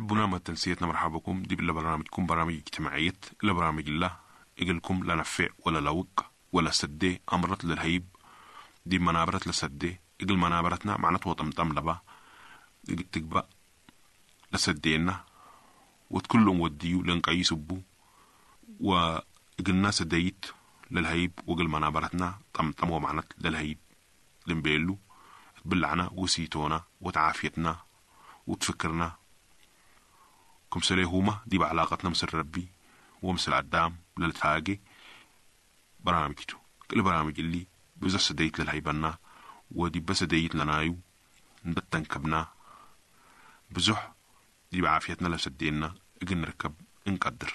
حبونا ما تنسيتنا مرحبا بكم دي بالله برنامجكم برامج اجتماعية إلا برامج الله إجلكم لا نفع ولا لوق ولا سدي أمرت للهيب دي منابرت لسدي إجل منابرتنا معناته وطمطم لبا إجل تقبأ لسدينا وتكلهم وديو لنقعي سبو وإجلنا سديت للهيب وإجل منابرتنا طمطم ومعنت للهيب لنبيلو تبلعنا وسيتونا وتعافيتنا وتفكرنا كم هما دي بعلاقتنا مثل ربي ومثل عدام للتاقي برامجته كل برامج اللي بزح سديت للهيبنا ودي بس ديت لنايو ندتنكبنا بزح دي بعافيتنا لسدينا اجن نركب نقدر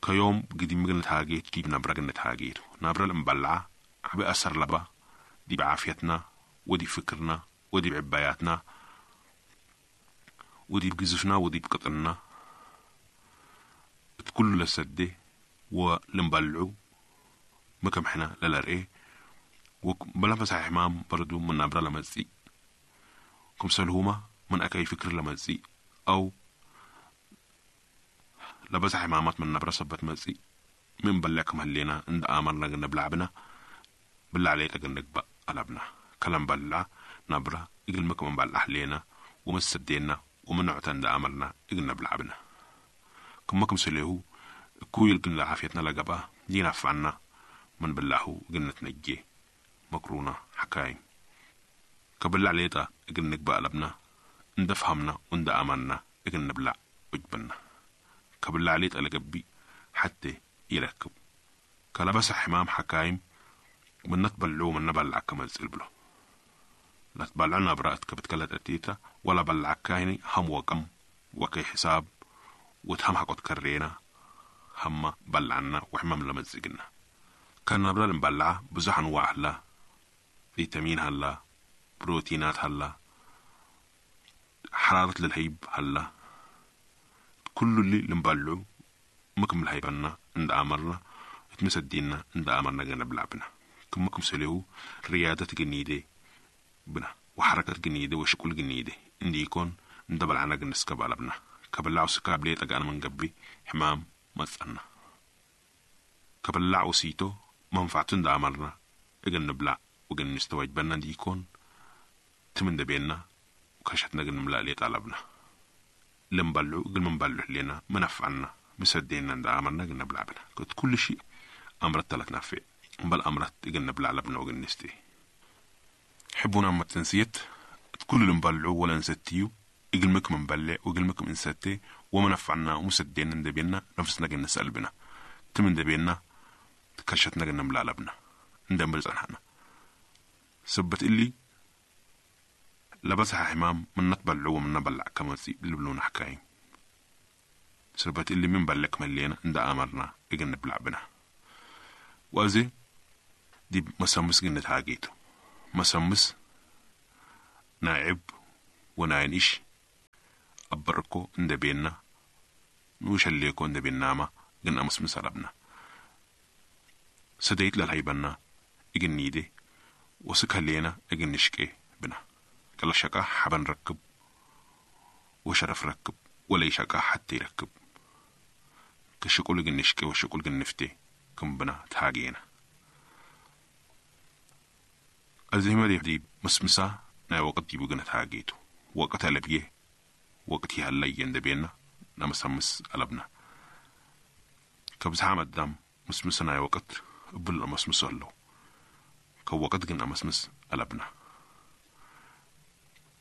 كيوم قديم مجن تاقيت كيف نبرة جن تاقيت نبرة المبلعة عبي أثر لبا دي بعافيتنا ودي فكرنا ودي بعباياتنا ودي بجزفنا ودي بقطرنا كل لسدي ولنبلعو مكم حنا للرئي وبلا مسح حمام برضو من نبرة لمزي كم سلهما من أكاي فكر لمزي أو لبس حمامات من نبرة سبت مزي من بلعكم هلينا عند آمرنا قلنا بلعبنا بالله عليك قلنا نقبأ قلبنا كلام بلع نبرة إقل مكم بلع لينا ومسدينا ومن عتند أمرنا إقلنا بلعبنا كم سليهو كويل قلنا عافيتنا لقبا ينفعنا من بلعه قلنا تنجي مكرونة حكايم كبلع ليتا إقل نقبأ قلبنا اندفهمنا وند أمرنا إقل نبلع وجبنا كبلع ليتا لقبي حتى يركب كلبس حمام حكايم من نتبلعو من نبلع كما بلو لا تبلعنا برأتك بتكلت أتيتا ولا بلع كايني هم وكم وكي حساب وتهم حقوت كرينا هم بلعنا وحمام لمزقنا كان نبلا المبلعة بزح أنواع هلا فيتامين هلا بروتينات هلا حرارة للهيب هلا كل اللي لنبلعو مكم الهيبنا عند أمرنا اتمسدينا عند أمرنا جنب لعبنا كمكم سليو رياضة جنيدة بنا وحركة جنيدة وشكل جنيدة عندي يكون ندبل عنا جنسكب على بنا كبلعو سكاب ليه أنا من قبي حمام مصنا كبلعو سيتو منفعتن دا أمرنا إجن نبلع وجن نستوعب بنا دي يكون تمن دبينا وكشتنا جن نملأ ليه طلبنا لنبلعو جن منبلع لنا منفعنا مسدينا دا أمرنا جن نبلع بنا كنت كل شيء أمرت ثلاث نافع بل أمرت إجن نبلع لبنا وجن نستي حبونا أما تنسيت كل اللي نبلعو ولا نستيو إجلمكم نبلع وإجلمكم نستي ومنفعنا ومسدينا ندبينا نفسنا جن نسأل بنا تمن دبينا تكشتنا جن نملأ لبنا ندمر زنحنا سبت اللي لبسها حمام من نتبلعو ومن نبلع كما اللي بلونا حكايم سبت اللي من بلك ملينا عند أمرنا إجن نبلع بنا وأزي دي مسمس جنة هاجيتو مسمس ناعب وناينش أبركو اندبينا نوشليكو اندبينا ما جن أمسمس ربنا سديت للهيبنا إجن نيدي وسكهلينا إجن نشكي بنا كلا شكا حبن ركب وشرف ركب ولا شكا حتى يركب كشكول جن نشكي وشكول جن نفتي كم بنا تهاجينا الزهمة دي مسمسة نا وقت دي بقنا تهاجيتو وقت لبيه وقت هلا يندبينا نمسمس قلبنا كبزحام الدم مسمسة نا وقت بل مسمس له كوقت جن مسمس قلبنا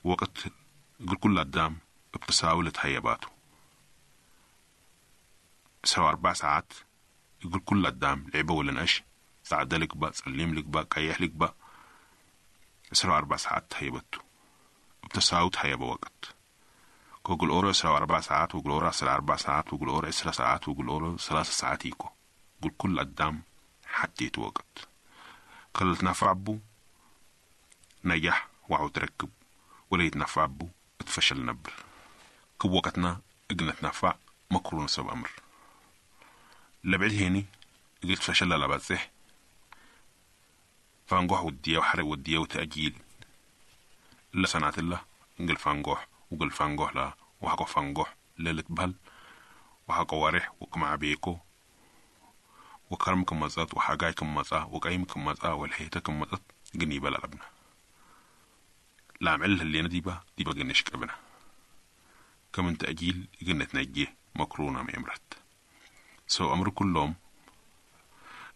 وقت قل كل الدم بتساولة هيباتو سوا 4 ساعات يقول كل الدم لعبة ولا نقش سعد لك بقى سلم لك بقى كيح لك بقى سوا 4 ساعات هيبتو بتساوت هيبة وقت كوجل أورو سوا 4 ساعات وجل أورو 4 ساعات وجل أورو 10 ساعات وجل أورو 3 ساعات يكو قول كل الدم حتيت وقت قلت نفع بو نجح وعو تركب ولا يتنفع بو اتفشل نبر كب وقتنا اجنا تنفع مكرون سب أمر لبعد هيني قلت فشل لا بزح فانقوح ودية وحرق ودية وتأجيل إلا صنعت الله نقل فانقوح وقل فانقوح لا وحكو فنقح للتبهل وحكو ورح وكم عبيكو وكرم كمزات وحاجاي كمزا وقايم كمزا والحيطة كمزات جني بلا لبنا لا معل اللي ديبا ديبا جنش كبنا كمن تأجيل جنة نجيه مكرونة ميمرت سو أمر كلهم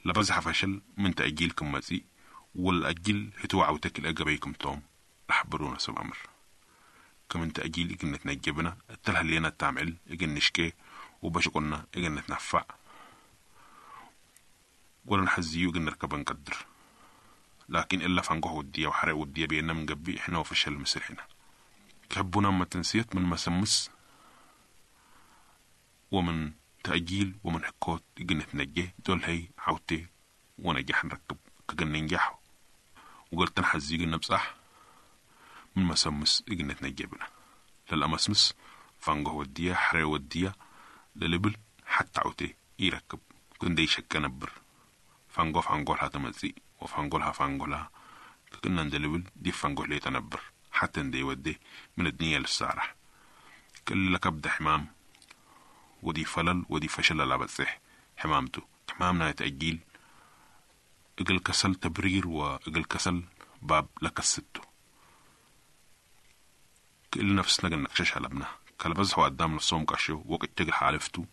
لبزح فشل من تأجيل كمزي والأجل هتو عوتك الأجبيكم توم لحبرونا سو أمر كمن تأجيل إجنة نجبنا التلها اللي تعمل إجن نشكي وبشقنا إجن نتنفع ولا نحزيو إجن نركب نقدر لكن إلا فنقه ودية وحرق ودية بينا من قبي إحنا وفشل مسرحنا كحبونا ما تنسيت من مسمس ومن تأجيل ومن حكوت إجن نتنجي دول هي عوتي ونجح نركب كجن ننجح وقلت نحزي إجن بصح من مسمس إجن نتنجبنا للأمسمس فنقه ودية حرق ودية للبل حتى عوتي يركب كن شك نبر فانقو فانقولها تمزي وفانقولها فانقولها كنا ندلبل دي فانقول لي تنبر حتى ندي ودي من الدنيا للسارح كل لكبد حمام ودي فلل ودي فشل لا بتصح حمامته حمامنا يتأجيل اقل كسل تبرير واقل كسل باب لكستو كل نفسنا قلنا كشش علبنا كلبزحوا قدام نفسهم كشو وقت تجل حالفتو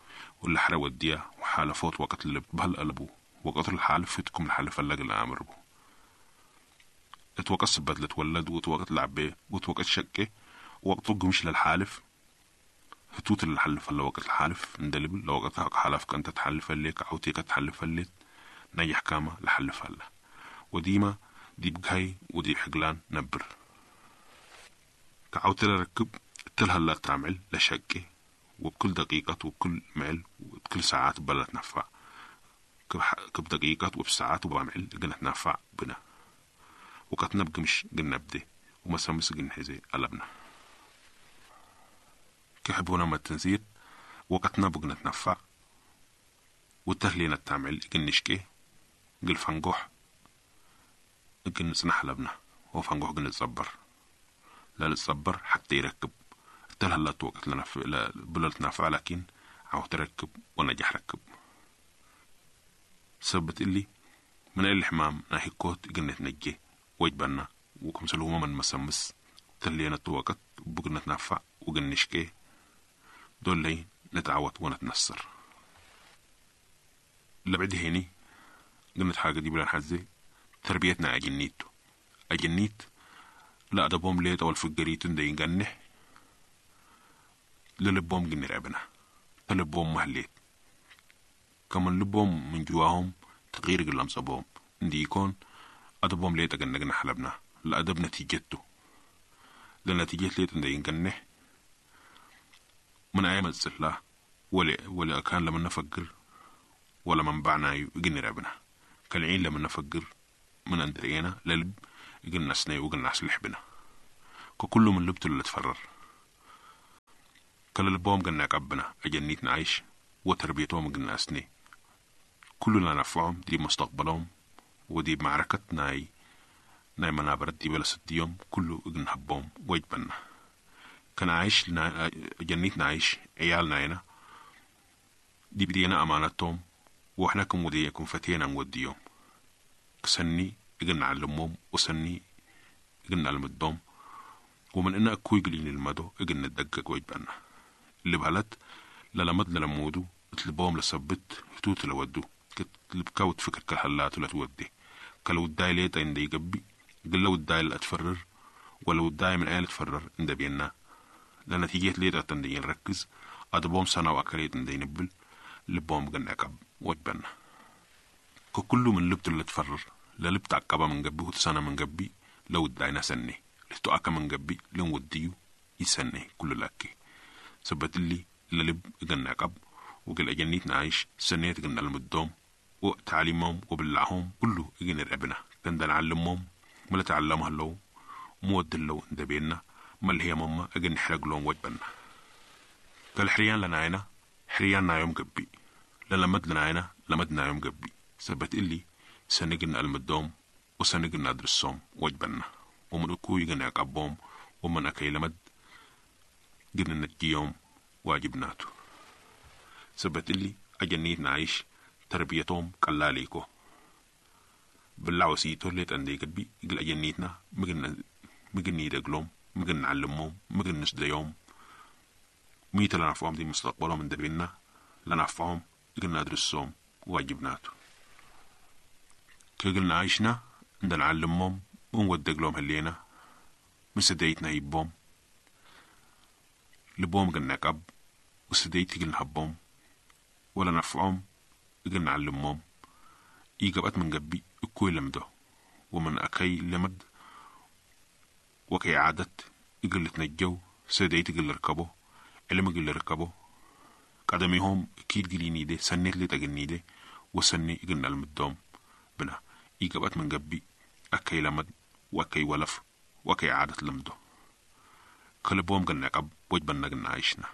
واللي حرق وديا وحالفوت وقت اللي بهل قلبو وقت الحالف فتكم الحالف اللي قلنا أمربو اتوقت بدل تولد وتوقت لعبه وتوقت شكه وقت مش للحالف هتوت اللي حلف اللي وقت الحالف ندلب لو وقت حلف كنت تحلف اللي كعوتي تحلف اللي نجح كاما لحلف هلا وديما دي بجهي ودي حقلان نبر كعوتي ركب تلها لا تعمل لشكه وبكل دقيقة وبكل معل وبكل ساعات بلا تنفع كبدقيقة وبساعات وبعمل قلنا تنفع بنا وقتنا بقمش قلنا بدي ومسامس قلنا حزي قلبنا كحبونا ما التنزيل وقتنا بقنا تنفع والتهلينا تعمل قلنا نشكي قل فنقح قلنا نسنح لبنا وفنقح قلنا نتصبر لا نتصبر حتى يركب تلها لا وقت لنا بلا تنفع لكن عاو تركب ونجح ركب سبت اللي من الحمام ناهي كوت قلنا نجي وجبنا وكم سلوما من مسمس تلينا توقت وبقنا تنفع وقلنا نشكي دول لي نتعوت ونتنصر لبعد هيني قلنا حاجة دي بلا حزي تربيتنا أجنيتو أجنيت لا أدبهم ليت أو الفجريتون دي ينجنح للبهم جن رعبنا تلبهم مهليت كمان لبهم من جواهم تغيير قلم صبهم اندي يكون أدبهم ليت أجنجنا حلبنا الأدب نتيجته لنتيجة ليت اندي ينجنح من أيام الزلة ولا كان لما نفكر ولا من بعنا يجن رعبنا كالعين لما نفكر من أندرينا للب يجن سني وجن سلح بنا ككل من لبته اللي تفرر كل لبهم قلنا قبنا أجنيتنا عيش وتربيتهم قلنا أسني كلنا نفعهم دي مستقبلهم ودي معركة ناي ناي منابرت دي بلا ست يوم كله قلنا حبهم وجبنا كان عايش جنيتنا عايش عيالنا هنا دي بدينا أمانتهم وإحنا كم وديكم فتينا نوديهم سني قلنا علمهم وسني قلنا المدهم ومن إن أكوي قلين المدو قلنا ندقق وجبنا اللي بهلت للمد للمودو تلبوم لسبت هتوت لودو كتلبكاوت فكر كالهلات ولا تودي كلو الداي ليتا إن يقبي قلو الداي لا تفرر ولو الداي من آلة تفرر إن بينا لنتيجة ليتا تندي نركز أدبوم سنة وأكليت إن نبل لبوم قلنا كب وجبنا ككل من لبت اللي تفرر للبت عقبة من قبي وتسنة من قبي لو الداينا سنة لتو من قبي لون وديو يسنة كل لكي سبت اللي للب قلنا قب وقل أجنيتنا عايش سنيت قلنا المدوم وتعليمهم وبلعهم كله إجن ربنا كان نعلمهم ما تعلمها لو مود لو بينا ما اللي هي ماما أجن نحرق لهم وجبنا قال حريان لنا عينا حريان يوم قبي للمد لنا عينا لمدنا يوم قبي سبت اللي سنجن المدوم وسنجن أدرسهم وجبنا ومن أكو يجن عقبهم ومن أكي لمد قلنا نجيهم واجبناتو. سبت اللي أجنيت نعيش تربيتهم قلاليكو بلع وسيتو اللي تندي قدبي قل أجنيتنا مجن يدقلهم، مجن نعلمهم، مجن نسديهم. ميت لنفعهم دي مستقبلهم من دبينا لنفعهم قلنا ندرسهم واجبناتو. كقلنا عايشنا عند نعلمهم ونودق لهم هلينا مسديتنا يبهم لبوم قلنا كب وسديت قلنا هبهم ولا نفعهم قلنا نعلمهم. إيقبت من قبي كوي لمدو ومن أكي لمد وكي عادت إقل تنجو سديت قل ركبو علم قل ركبو قدميهم أكيد قليني دي سنيت لي تقني دي وسني قلنا المدوم بنا. إيقبت من قبي أكي لمد وأكي ولف وأكي عادت لمدو. كلبوم قلنا قب وجبنا قلنا عايشنا.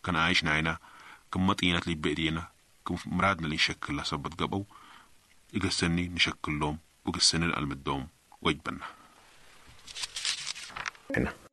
كان عايشنا هنا كم مطينات اللي بإيدينا كم مرادنا اللي نشكل سبت قبو إقسني نشكل لهم وقسني المدوم وجبنا. هنا.